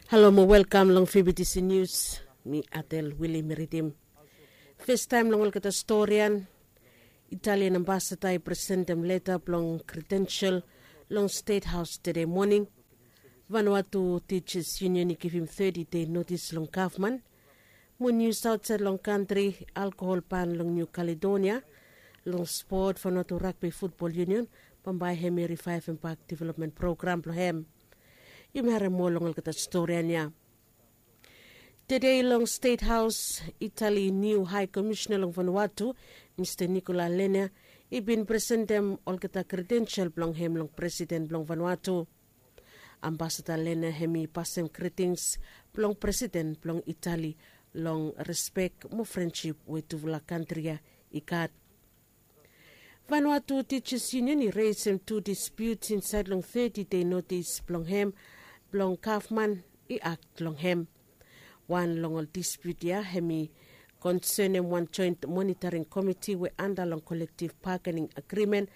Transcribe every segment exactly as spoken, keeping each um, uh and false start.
Halo mo welkam long fibitisi nius. Mi atel wili mi ridim. Festaem long olgeta storian, italian ambasada i presentem leta blong kredensel long stet haos tede moning. Vanuatu tijas yunion i givim teti dei notis long gavman mo nius aotsaed long kantri, alkohol ban long niu kaledonia. Long spot, vanuatu ragbi futbol yunion bambae hem i rivaevem bak developmen program blong hem. Yumi harem moa long olgeta storian ya. Tede long stet haos, itali niu hae komisena long vanuatu, mista nikola lena, i bin presentem olgeta kredensel blong hem long presiden blong vanuatu. Ambasada lena hem i pasem gritings blong presiden blong itali long respek mo frensip we tufala kantri ya i gat. Vanuatu tijas yunion i resem tu dispiut insaed long teti dei notis blong hem blong gavman i akt long hem. Wan long ol dispiut ya hem i konsenem wan joent monitaring komiti we anda long kolektiv bagening agrimen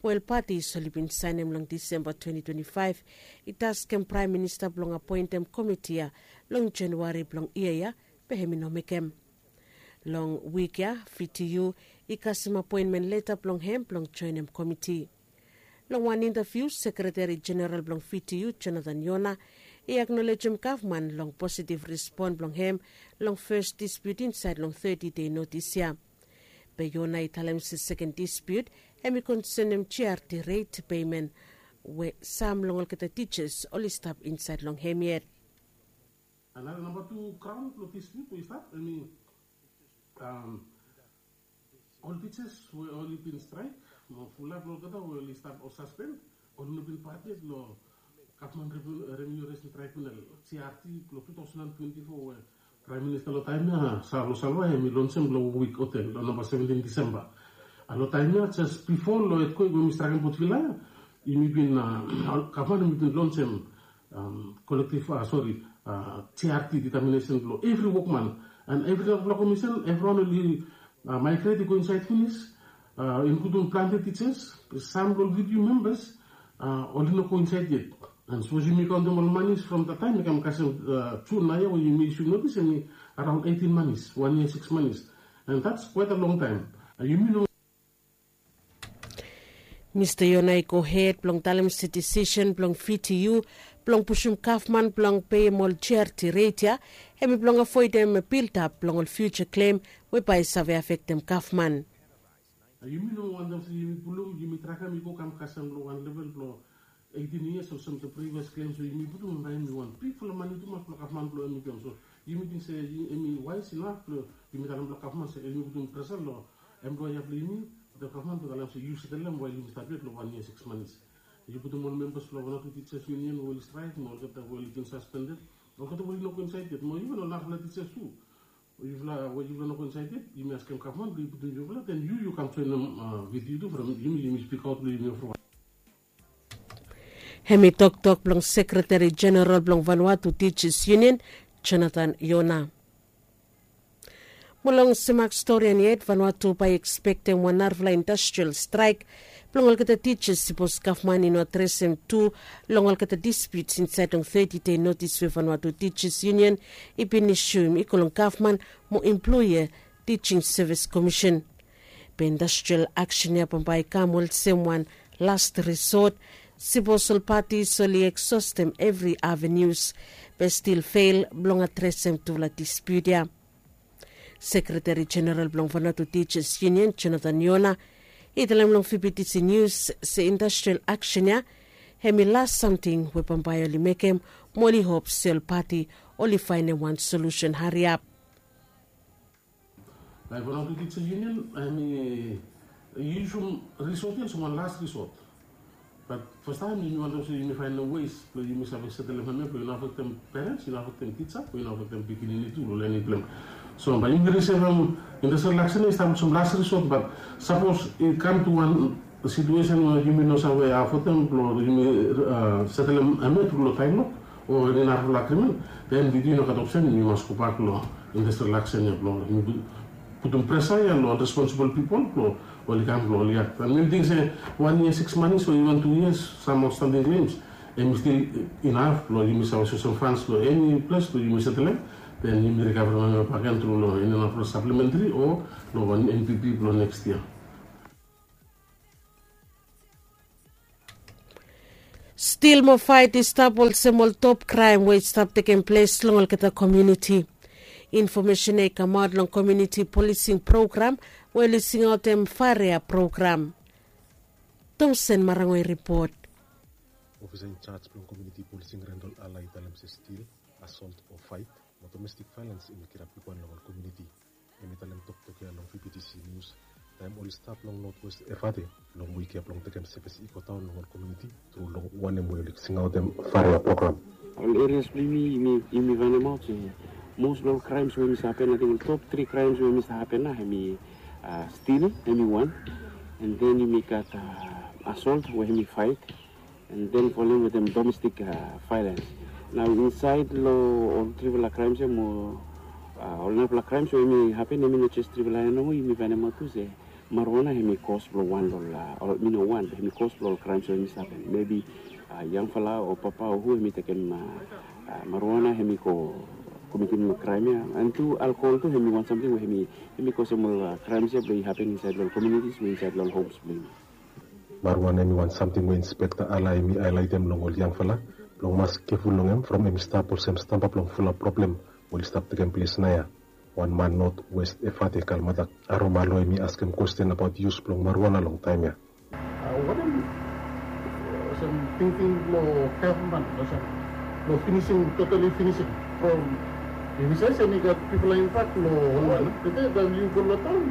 we ol patis oli bin saenem long disemba twenti twenti faef. I taskem praem minista blong apoentem komiti ya long januari blong yia ya, be hem i no mekem. Long wik ya, vtu i kasem apoenmen leta blong hem blong joenem komiti. Long wan intaviu, sekreteri jeneral blong vtu, jonathan yona, i aknolejem gavman long positiv rispon blong hem long fes dispiut insaed long teti dei notis ya. Be yona i talem se seken dispiut hem i konsenem jiarti reit peimen we sam long olgeta tijas oli stap insaed long hem yet. Another namba tu graon blong dispute we i stap, I mean, um, ol teachers we oli bin strike mo fulap long olgeta we oli stap ol suspend, oli no bin participate long gavman revenue raising tribunal, G R T, blong two thousand and twenty-four we praem minista long taem ya, Salo Salva, hem i lonsem long wik hotel long namba seventeen Disemba. A long taem ya, jes bifo long etkwek we mi strakem Port Vila ya, yumi bin, gavman yumi bin lonsem kolektiv, sori, G R T ditaminesen blong evri wokman. And evri narafala komisen, evriwan oli maigret i go insaed finis, inkludim plante tijas, sam blong ol vtu membas, oli no go insaed yet. And sapos yumi kaontem ol manis from that taem i kam kasem Jun naoia we yumi isum notis, hem i araon eitin manis, wan yia sikis manis. And that's quite a long time. Yumi no Mista Yona i gohed blong talem se disisen blong V T U blong pusum gavman blong peim ol G R T reit ya, hem i blong avoedem biltap blong ol fiuja klem we bae i save afektem gavman. Yumi no wantem se yumi pulum, yumi traem i go kam kasem long wan level blong eitin yias olsem the previous claims we yumi putum, bae hem i wan bigfala mane tumas blong gavman blong hem i givim. So yumi ting se hem i waes inaf blong yumi talem long gavman se hem i putum presa long employa blong yumi, the gavman blong talem se yu setelem wael yumi stap yet long wan yia sikis manis. Yu putum ol membas blong wan o tu tijas yunion we oli straek mo olgeta we oli bin saspended, olgeta we oli no go insaed yet, mo iven ol narafala tijas tu. Yufala we yufala no go insaed yet, yumi askem gavman blong i putum yufala, then yu yu kam joenem V T U tu from yumi, yumi spikaot blong yumi evriwan. Hem i toktok blong sekreteri jeneral blong Vanuatu Tijas Yunion, Jonathan Yona. Mo long semak storian yet, Vanuatu bae i ekspektem wan narafala industrial straek blong olgeta tijas sipos gavman i no adresem tu long olgeta dispiuts insaed long teti dei notis we Vanuatu Tijas Yunion i bin isuem i go long gavman mo employa Tijing Sevis Komisen. Be industrial aksen ya bambae i kam olsem wan last risot, sipos ol patis oli eksostem evri avenius be stil fel blong adresem tufala dispiut ya. Sekreteri jeneral blong Vanuatu Tijas Yunion, Jonathan Yona, i talem long V B T C Nius se industrial aksen ya hem i las samting we bambae oli mekem, mo oli hop se ol pati oli faenem wan solusen hariap. Bae Vanuatu Tijas Yunion hem i yusum risot ya olsem wan las risot. Bat fastaem yumi wantem se yumi faenem wes blong yumi save setelem hem ya blong i no afektem perens, i no afektem tija, blong i no afektem pikinini tu long lening blong hem. So bae yumi risevem industrial aksen ya i stap olsem las risot, bat sapos i kam tu wan situesen we yumi no save afodem blong yumi setelem hem ya tru long taem lok o eni narafala agrimen, then V T U i no gat opsen, yumi mas gobak long industrial aksen ya blong yumi putum presa ya long ol responsibol pipol blong oli kam blong oli akt. And mi ting se wan yia sikis manis o iven tu yias, sam aotstanding klems, Em i stil inaf blong yumi save sosim fans long eni ples blong yumi setelem. Den yumi rikaverim em baken tru long eni nafala saplementri o long wan npp blong neks yia. Stil mo faet i stap olsem ol top kraem we i stap tekem ples long olgeta komiuniti. Infomesen ya i kamaot long komiuniti polising program we oli singaotem faria program. Tomsen marango i ripot. Ofisa injaj blong komiuniti polising rendol ala i talem se stil, asolt o faet mo domestik vaelens em i kirap bigwan long ol komiuniti. Em i talem toktok ya long vptc nius taem oli stap long notwest evate long wik ya blong tekem sevis i godaon long ol komiuniti tru long wanem we oli singaotem faria program. Ol erias blong yumi yumi faenemaot se mos blong ol kraems we yumi save hapen ating ol top tri kraems we yumi save hapen nao hem i stil hem i wan, en den yumi gat asolt we hem i faet, en den folem wetem domestik vaelens. Nao insaed long ol trifala kraems ya mo ol narafala kraems we hem i hapen hem i no jes trifala ya nomo yumi faenemaot tu se maruana hem i kos blong wan long ol mi no wan hem i kos blong ol kraems we hem i save hapen mebi yangfala o papa o hu hem i tekem maruana hem i go komitim kraem ya, en tu alkohol tu hem i wan samting we hem i kosem ol kraems ya blong i hapen insaed long ol komiunitis mo insaed long ol homs blong yumi. Maruana hem i wan samting we inspekta ala hem i aelaetem long ol yangfala blong mas keful long hem from hem i stap olsem stamba blong fulap problem we oli stap tekem ples naoia. Wan man notwest evate kalmatak aromalo hem i askem kwesten abaot yus blong maruana long taem ya. Wanem olsem tingting blong gavman olsem blong finisim totali finisim from yumi save se mi gat pipol lain bak long ol man tete taem yu go long taon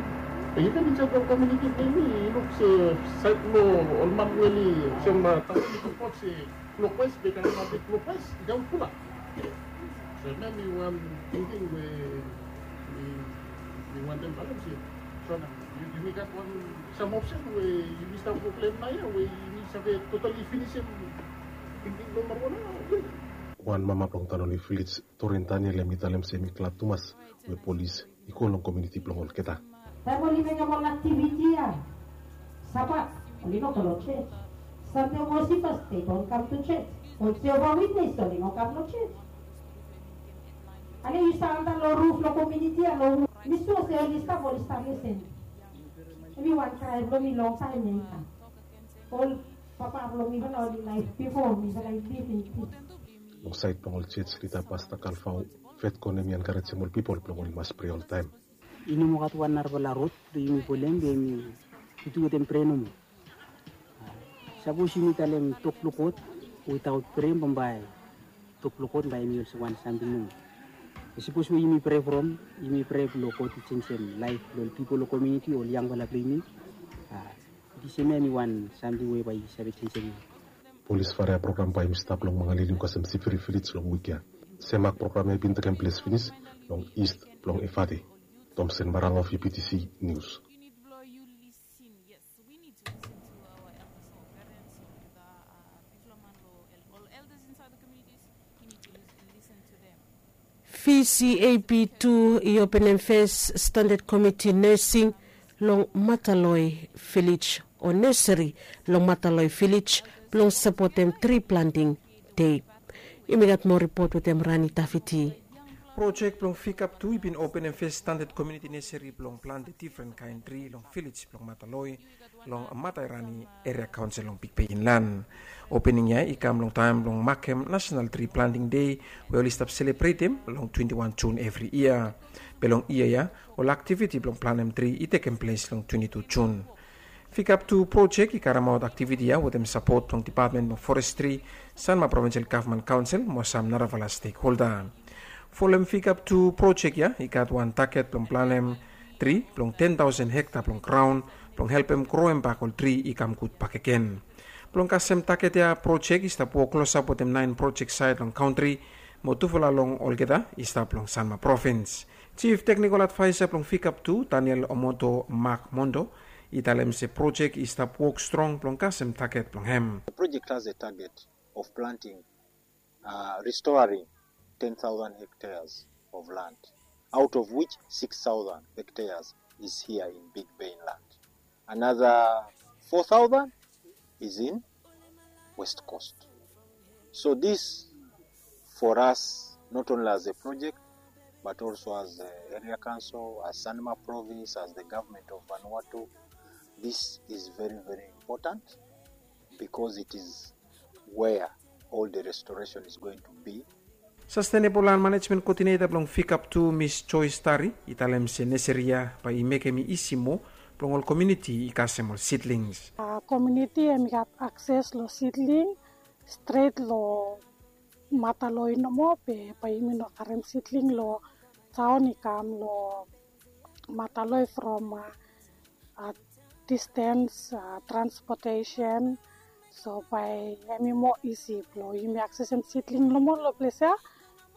even insaed long komiuniti blong yumi i luk se saed long ol man we oli olsem taon i toktok se klokwes be kam ap klokwes i kam fulap. So em ya mi wan tingting we mi wantem talem se so na yumi gat wan sam opsen we yumi stap go klem naoia we yumi save totali finisim tingting blong maruana. Wan mama blong tanoli vilej torin daniel hem i talem se hem i glad tumas we polis i go long komiuniti blong olgeta. Taem oli mekem ol aktiviti ya sabat oli no go long ses. Sande mosifas de i don kam tu ses. Ol jehova witnes oli no kam long ses. Ale yu stap antap long ruf long komiuniti ya long mi sua se oli stap oli stap lisen. Em i wan krae blong mi longtaem ya i kam. Ol papa blong mifala oli laef bifo mifala i liv in pis. Long saed blong ol jej lida pasta kalfao fetko nem i enkarejem ol pipol blong oli mas prea oltaem. I no moa gat wan narafala rod blong yumi folem blong yumi fitu wetem prea nomo. Sapos yumi talem tok blong god witaot prea bambae tok blong god bae yumi olsem wan samting nomo. Sapos we yumi prea from yumi prea blong god i jenjem laef blong ol pipol long komiuniti ol yangfala blong yumi. Disem ya em i wan samting we bae i save jenjem. Polis faria program bae i stap long mangalili kasem sifiri vilej long wik ya. Semak program ya i bin tekem ples finis long ist blong efate. Tomsen marango vptc nius. Vcap tu i openem fes standad komiti nesing long mataloi vilej o neseri long mataloi vilej blong sapotem tri planting dei. Yumi gat moa ripot wetem rani tafiti. Projek blong fikap tu i bin openem fes standad komiuniti neseri blong plante difren kaen tri long vilej blong mataloi long mataerani eria kaonsel long bigbe inlan. Opening ya i kam long taem blong makem nasenal tri planting dei we oli stap selebretem long twenti wan jun evri yia. Be long yia ya ol aktiviti blong planem tri i tekem ples long twenti tu jun. Fikap tu projek i karemaot aktiviti ya wetem sapot blong depatmen blong forestri, sanma provinsel gavman kaonsel mo sam narafala stekholda. Folem fikap tu projek ya i gat wan taget blong planem tri blong ten taosen hekta blong graon blong helpem groem bak ol tri i kam gud bakegen. Blong kasem taget ya projek i stap wok klosap wetem naen projek saed long kantri mo tufala long olgeta i stap long sanma provins. Jif teknikol advaesa blong fikap tu daniel omoto mak mondo i talem se projek i stap wok strong blong kasem taget blong hem. Restoring ten thousand hectares of land, out of which six thousand hectares is here in Big Bay land. Another four thousand is in West Coast. So this, for us, not only as a project, but also as a area council, as Sanima province, as the government of Vanuatu, this is very, very important because it is where all the restoration is going to be. Sustainable Land Management Coordinator blong Ficap tu, Miss Joyce Tari, i talem se neseri ya bae i mekem i isi moa blong ol komuniti i kasem ol seedlings. Komuniti hemi gat akses long seedling stret long Mataloi nomo, be bae yumi no karem seedling long taon i kam long Mataloi from distance, transportation. So bae hemi moa isi blong yumi aksesem seedling nomo long ples ya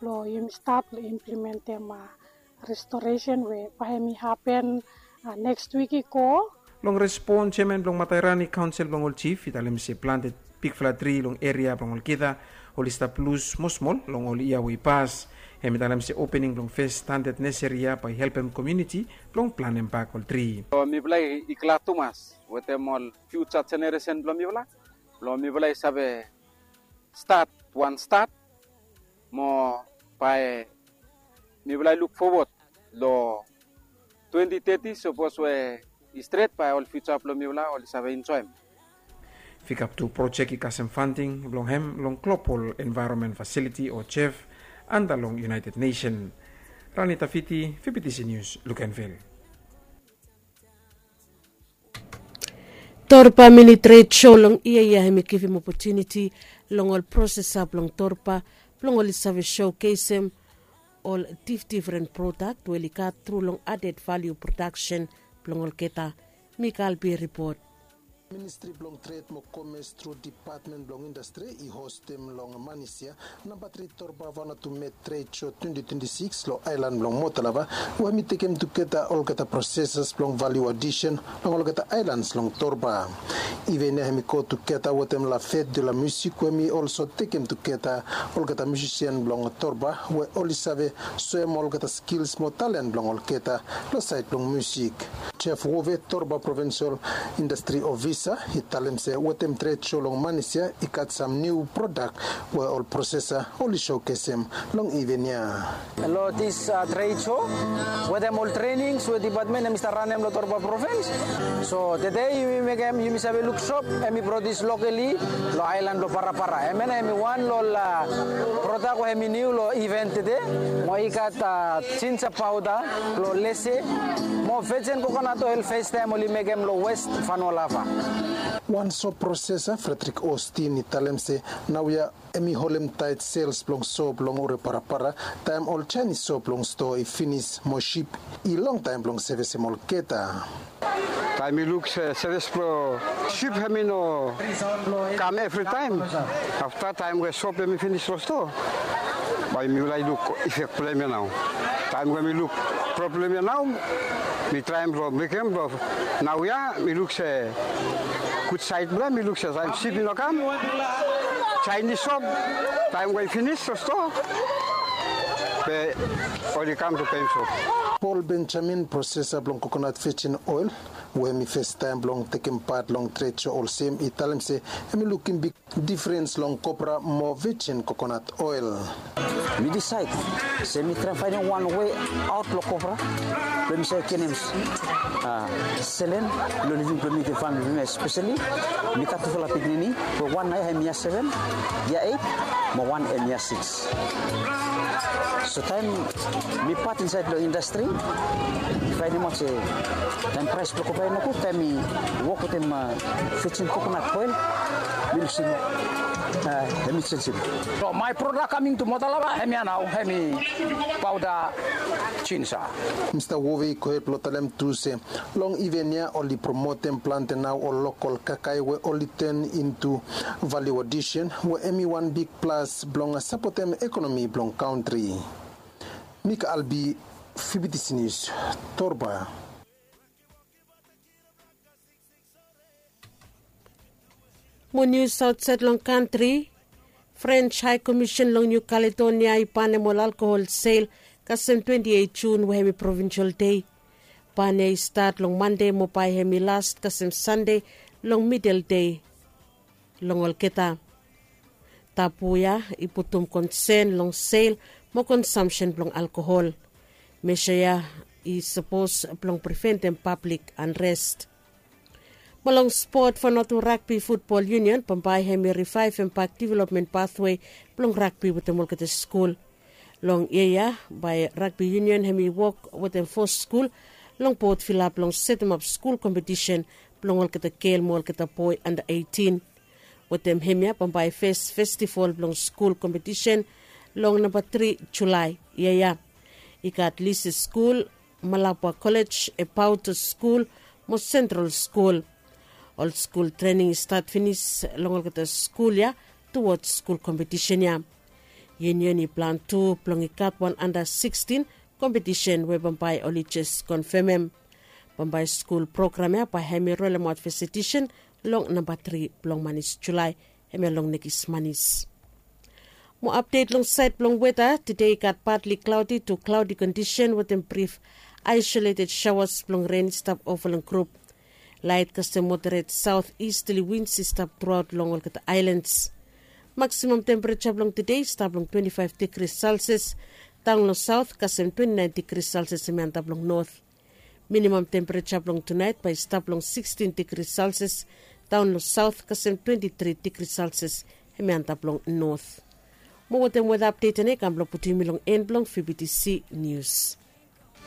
blong yumi stat blong implementem restoration we bae hemi hapen neks wik i go. Long respon, jeaman blong Matairani Kaonsel blong ol jif i talem se plante bigfala tri long eria blong olgeta oli stap lus mosmol long ol yia we i pas. Hemi talem se opening blong fes standad neseri ya bae i helpem komuniti blong planem bak ol tri. Mifala i glad tumas wetem ol fiuja jeneresen blong mifala blong mifala i save stat wan stat mo bae mifala i luk fowod long twenti teti sapos we i stret bae ol fiuja blong mifala oli save enjoem. Ficap tu projek i kasem fanding blong hem long Global Environment Facility o jef anda long United Nation. Rani Tafiti, Fibitisi Nius, Lukenvil. Torba Mini Tred Sho long yia ya hemi givim opotuniti long ol prosesa blong Torba blong oli save showkesem ol difdifren prodak we oli gat tru long aded valiu prodaksen blong olgeta. Mikael Bia ripot. Ministri blong Tred mo Komes tru Dipatmen blong Indastri i hostem long Manis ya namba tri Torba Vanuatu Met Tred Sho twenti twenti sikis long aelan blong Motalava, we hemi tekem tugeta olgeta prosesas blong valiu adisen long olgeta aelans long Torba. Iven ya hemi go tugeta wetem La Fête de la Musique we hemi olso tekem tugeta olgeta musisian blong Torba we oli save soem olgeta skils mo talen blong olgeta long saed blong musik. Jeff Wove, Torba Provinsol Indastri Ofisa, i talem se wetem tred sho long Manis ya i gat sam niu prodak we ol prosesa oli showkesem long iven ya. Long dis tred sho wetem ol trenings we dipatmen hemi stap ranem long Torba Provins. So tede yumi mekem, yumi save luk sop hemi produs lokali long aelan blong Parapara. Hemia nao hemi wan long ol prodak we hemi niu long iven tede. Mo i gat jinja paoda blong lese mo vejen kokonat oel, festaem oli mekem long West Vanualava. Wan sop prosesa, Frederick Austin, i talem se naoia hemi holem taet sels blong sop long Ore Parapara taem ol Jaenis sop long stoa i finis mo sip i longtaem blong sevisem olgeta. Taem mi luk se sevis blong sip hemi no kam evritaem. Afta taem we sop hemi finis long stoa, bae mifala i luk ifek blong hemia nao. Taem we mi luk problem ya nao, mi traem blong mekem blong naoia mi luk se gud saed blong hem, mi luk se taem sip i no kam, Jaenis sop taem we i finis long stoa be oli kam blong peim sop. Paul Benjamin, prosesa blong kokonat vejin oel, we hemi festaem blong tekem pat long tred sho olsem, i talem se hemi lukim big difrens long kopra mo vejin kokonat oel. Mi disaed se mi traem faenem wan wei aot long kopra blong mi save genem selen long living blong mi wetem famili blong mi, espeseli mi gat tufala pikinini we wan nao ya hemi yia seven, yia eit, mo wan hemi yia sikis. So taem mi pat insaed long indastri, mi faenemaot se taem praes blong kopra i nogud, taem mi wok wetem vejin kokonat oel, mi luk se hemi jenjem. So maet prodak kaming tu Motalava hemia nao, hemi paoda jinja. Mista Wove i gohed blong talem tu se long iven ya oli promotem plante nao ol lokol kakae we oli ten intu valiu adisen we hemi wan big plas blong sapotem ekonomi blong kantri. Mik Albi, Fibitisi Nius, Torba. Mo nius aotsaed long kantri, Frens Hae Komisen long Niu Kaledonia i banem ol alkohol sel kasem twenti eit Jun we hemi provinsol dei. Ban ya i stat long Mande mo bae hemi las kasem Sande long midel dei long olgeta. tabu ya i putum konsen long sel mo konsamsen blong alkohol. Mesa ya i sapos blong priventem pablik anrest. Mo long spot, Vanuatu Ragbi Futbol Union bambae hem i rivaevem bak developmen pathwe blong ragbi wetem olgeta skul. Long yia ya bae Ragbi Union hem i wok wetem fo skul long bot vila blong setemap skul kompetisen blong olgeta gel mo olgeta boe anda eitin. Wetem hemia bambae fes festival blong skul kompetisen long namba tri Julae yia ya. I gat Lisi Skul, Malabwa Kolej, Epaoto Skul mo Sentral Skul. Ol skul trening i stat finis long olgeta skul ya tuwoj skul kompetisen ya. Union i plan tu blong i gat wan anda sikstin kompetisen we bambae oli jes konfemem. Bambae skul program ya bae hem i rolemaot fes edisen long namba tri blong manis Julae, hemia long nekis manis. Mo apdet long saed blong weta, tede i gat patli klaodi tu klaodi kondisen wetem brif aisoleted saoas blong ren i stap ova long grup. Laet kasem moderet saot istali wins i stap truaot long olgeta aelans. Maksimam tempereja blong tede i stap long twenti faef digri selsias daon long saot kasem twenti naen digri selsias hemi antap long not. Minimam tempereja blong tunaet bae i stap long sikstin digri selsias daon long saot kasem twenti tri digri selsias hemi antap long not. Mo wetem weta apdet ya nao i kam blong putum yumi long en blong vbtc nius.